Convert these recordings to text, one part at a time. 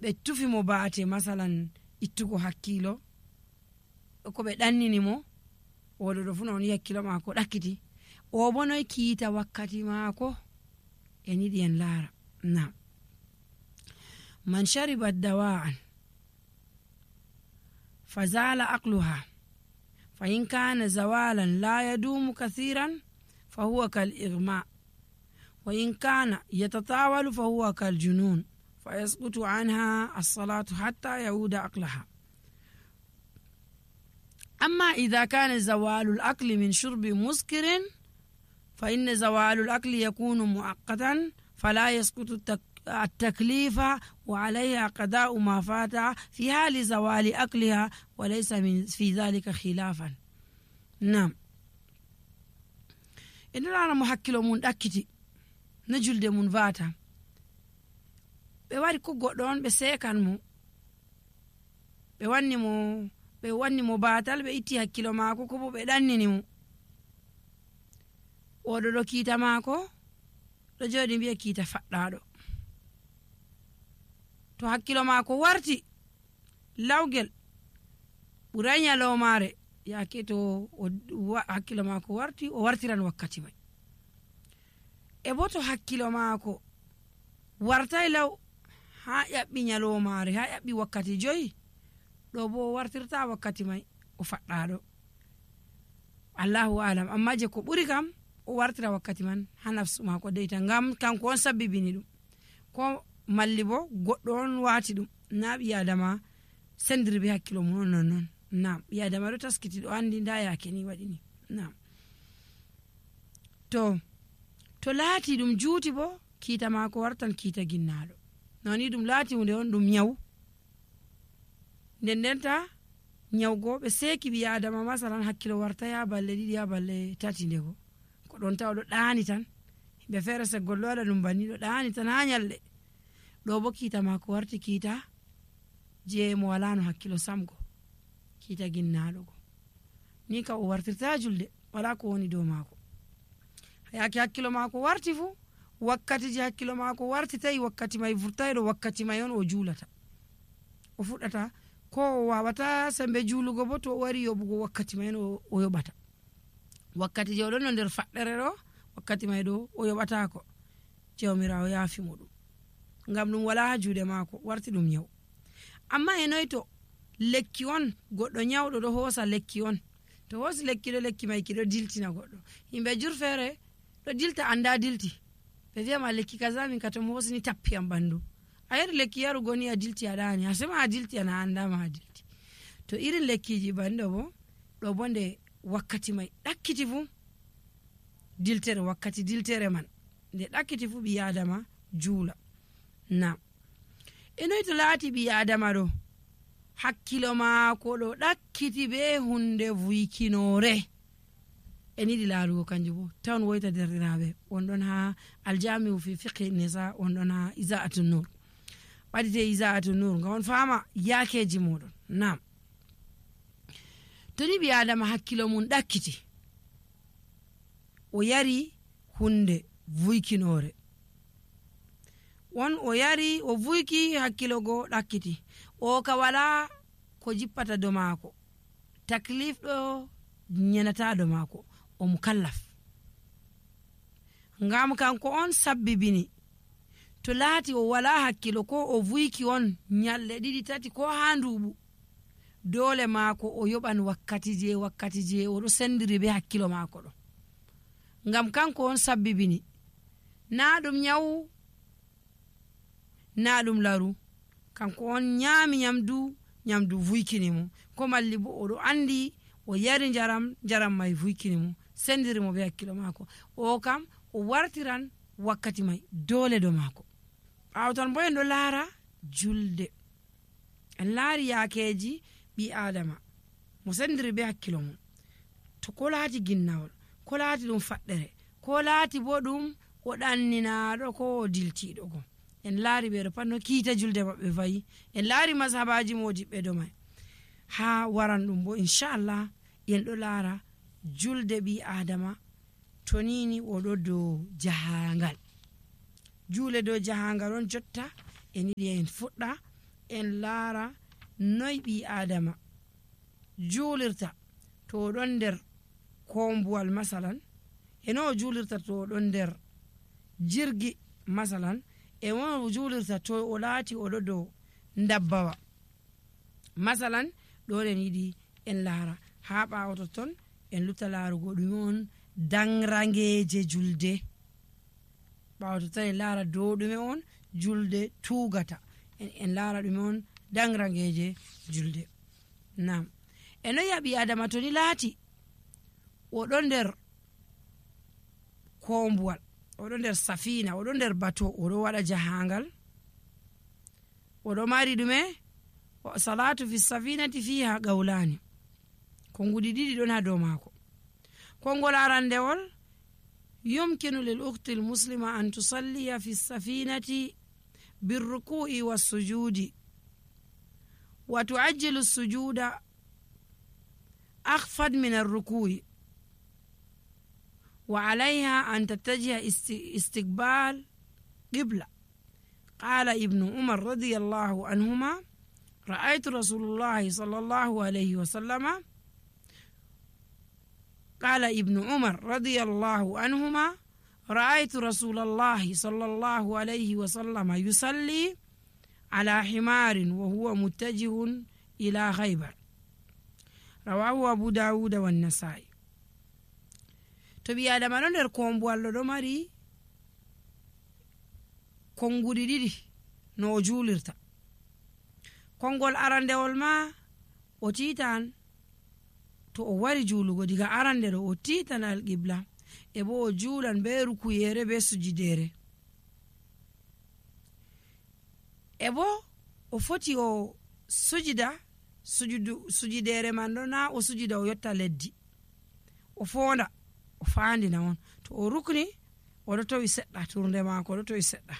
ɓe tufi mo baate masalan ittugo hakkilo ko ɓe ɗannini mo oɗo ɗo fu non hakkilo maako ɗakkiti o bo noy kiita wakkati maako en yiɗi en laara. Nam man sharibat dawa'an fazala aqluha fa in kana zawalan la yadumu kathiran fa huwa kal igma wa in kana yatatawalu fa huwa kal junun fa yasqutu anha as-salatu hatta yauda aqlaha. أما إذا كان زوال الأكل من شرب مسكر فإن زوال الأكل يكون مؤقتا فلا يسقط التكليف وعليها قضاء ما فات في حال زوال أكلها وليس في ذلك خلافا. نعم إن أنا محكلو من أكتي نجل دي من فاتا بواري كو قدون بسيكان مو بواني مو ɓe wanni mo batal ɓe itti hakkilo maako ko bo ɓe ɗannini mo oɗo ɗo kiita maako ɗo jooɗi mbiya kiita faɗɗaɗo to hakkilo maako warti lawgel ɓuray nyalomare yaake to hakkilo maako warti o wartiran wakkati mai e bo to hakkilo maako wartay law ha ƴaɓɓi nyalomare ha ƴaɓɓi wakkati 5 ɗo bo wartirta wakkati mai o faɗɗaɗo Allahu alam amma je ko ɓuri kam o wartira wakkati man ha nafsu mako deyta ngam kanko on sabbibini ɗum ko malli bo goɗɗo on wati ɗum na ɓi adama sendiri be hakkilo mum on non nam ɓi adama ɗo taskiti ɗo andi nda yake ni waɗi ni nam to laati ɗum juuti bo kiita mako wartan kiita ginnaɗo noni ɗum laati hunde on ɗum nyawu ndendenta nyawgo ɓe seeki ɓi adama masalan hakkilo warta ya balle 2 ya balle 3 ndego ko ɗon taw ɗo ɗaani tan himɓe feere seggol ɗo waɗa ɗum banni ɗo ɗaani tan ha nyalɗe ɗo bo kiita mako warti kiita je mo walano hakkilo samgo kiita ginnaɗo go ni ka o wartirta julde wala ko woni dow mako yaake hakkilo mako warti fu wakkati je hakkilo mako warti tawi wakkati mai vurtayɗo wakkati mai on o juulata o fuɗɗata ko o wawata sembe juulugo bo to o wari yoɓugo wakkati mai o yoɓata wakkati je oɗon no nder faɗɗere ɗo wakkati mai ɗo o yoɓatako jawmirawo yaafi mo ɗum ngam ɗum wala ha juuɗe maako warti ɗum nyawu amma e noy to lekki on goɗɗo nyawɗo ɗo hoosa lekki on to hoosi lekki ɗo lekki mai ki ɗo diltina goɗɗo yimɓe jur feere ɗo dilta anda dilti ɓe wiyama lekki kaza min ka to mo hoosini tappi am ɓandu a yari lekki yarugo ni a dilti a ɗaani a sema a dilti ana andama a dilti to irin lekkiji banɗo bo ɗo bo nde wakkati mai ɗakkiti fu diltere wakkati diltere man nde ɗakkiti fu ɓi adama juula na e noy to laati ɓi adama ɗo hakkilo maako ɗo ɗakkiti be hunde vuykinore en yiɗi laarugo kanjum bo tawn woyta derɗiraɓe wonɗon ha aljamiu fi fiqhi nisa wonɗon ha isa'atu nur ɓaɗite isa'atu nur ngam on fama yakeji moɗon nam to ni ɓi adama hakkilo mum ɗakkiti o yari hunde vuykinore won o yari o vuyki hakkilo go ɗakkiti o ka wala ko jippata do maako taklif ɗo nyenata do maako o mukallaf ngam kanko on sabbibini to laati o wala hakkilo ko o vuyki on nyalɗe 2 3 ko ha nduɓu dole maako o yoɓan wakkati je oɗo sendiri be hakkilo maako ɗo ngam kanko on sabbibini na ɗum nyawu na ɗum laru kanko on nyami nyamdu vuykini mo ko malli bo oɗo andi o yari jaram mai vuykini mo sendiri mo be hakkilo maako o kam o wartiran wakkati mai dole do maako ɓawo ton bo en ɗo laara julde en laari yakeji ɓi adama mo sendiri be hakkilo mum to ko laati ginnawol ko laati ɗum faɗɗere ko laati bo ɗum o ɗanninaɗo ko o diltiɗo go en laari ɓeɗo pat no kiita julde maɓɓe fayi en laari mashabaji modiɓɓe do mai ha waran ɗum bo inchallah en ɗo laara julde ɓi adama to nini oɗo dow jahangal juule dow jahangal on jotta en yiɗi en fuɗɗa en laara noy ɓi adama juulirta to ɗon nder kombuwal masalan e no juulirta to ɗon nder jirgi masalan e no juulirta to o laati oɗo dow dabbawa masalan ɗon en yiɗi en laara ha ɓawo ton en lutta laarugo ɗume on danrangeje julde ɓawo ton en laara dow ɗume on julde tugata en laara ɗume on danrangeje julde. Nam e no yaɓi adama to ni laati oɗo nder kombuwal oɗo nder safina oɗo nder bato oɗo waɗa jahangal oɗo mari ɗume salatu fi safinati fiha qawlani konguɗi ɗiɗi ɗon ha dow maako. kongol arandewol yumkinu lil ukti l muslima an tusalliya fi safinati birruku'i wassujudi wa tuajjilu sujuda akhfad min arruku'i wa alayha an tattajiha istiqbal qibla. qala ibnu umar radiyallahu anhuma ra'aytu rasulullahi sallallahu alayhi wa sallama قال ابن عمر رضي الله عنهما رأيت رسول الله صلى الله عليه وسلم يصلي على حمار وهو متجه إلى خيبر رواه أبو داود والنسائي. تبي آدم ندر kombuwal ɗo mari konguɗi ɗiɗi no o juulirta. kongol arandewol ma o titan to o wari juulugo diga arande ɗo o titan alqibla e bo o juulan be rukuyere be sujidere e bo o foti o sujidere man ɗo na o sujida o yotta leddi o fonda o fandina on to o rukni oɗo towi seɗɗa turde maako oɗo towi seɗɗa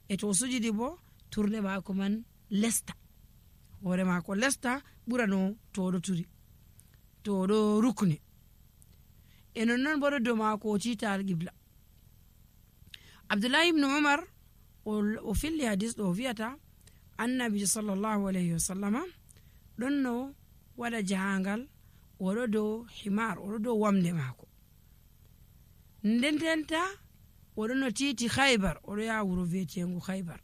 e to o sujidi bo turde maako man lesta hoore maako lesta ɓura no to oɗo turi to oɗo rukni e nonnon bo ɗo dow maako o tiita alqibla. abdullahi ibnu umar o filli hadis ɗo o wiyata annabi sallallahu alayhi wa sallama ɗon no waɗa jahangal oɗo dow himar oɗo dow wamde maako ndententa oɗo no tiiti khaybar oɗo yaha wuro viyetengu khaybar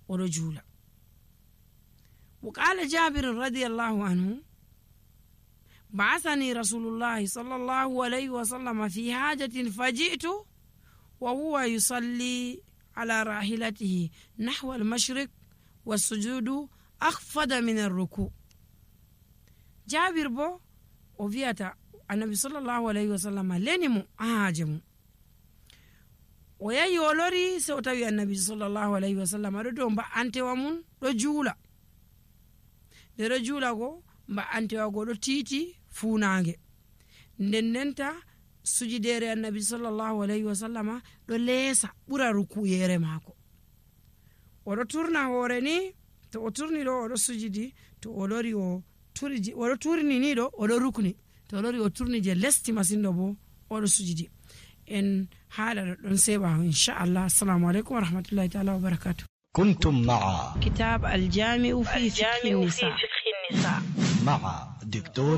oɗo juula. wa qala jabir radiyallahu anhu بعثني رسول الله صلى الله عليه وسلم في حاجة فجئت وهو يصلي على راحلته نحو المشرق والسجود أخفض من الركوع. جابر بو وفيتا النبي صلى الله عليه وسلم لنمو أهاجمو ويا يولوري سوتاوي النبي صلى الله عليه وسلم ردو مبا أنت ومن رجولا رجولا go mba antewago ɗo tiiti funange ndendenta sujidere annabi sallallahu alayhi wa sallama ɗo leesa ɓura rukuyere maako oɗo turna hoore ni to o turni ɗo oɗo sujidi to o lori o oɗo turni ni ɗo oɗo rukni to o lori o turni je lesti masin ɗo bo oɗo sujidi. en haɗa ɗon seɓaho inchallah. assalamu aleykum wa rahmatullahi taala wa barakatuh. كنتم مع كتاب الجامع في فقه النساء مع دكتور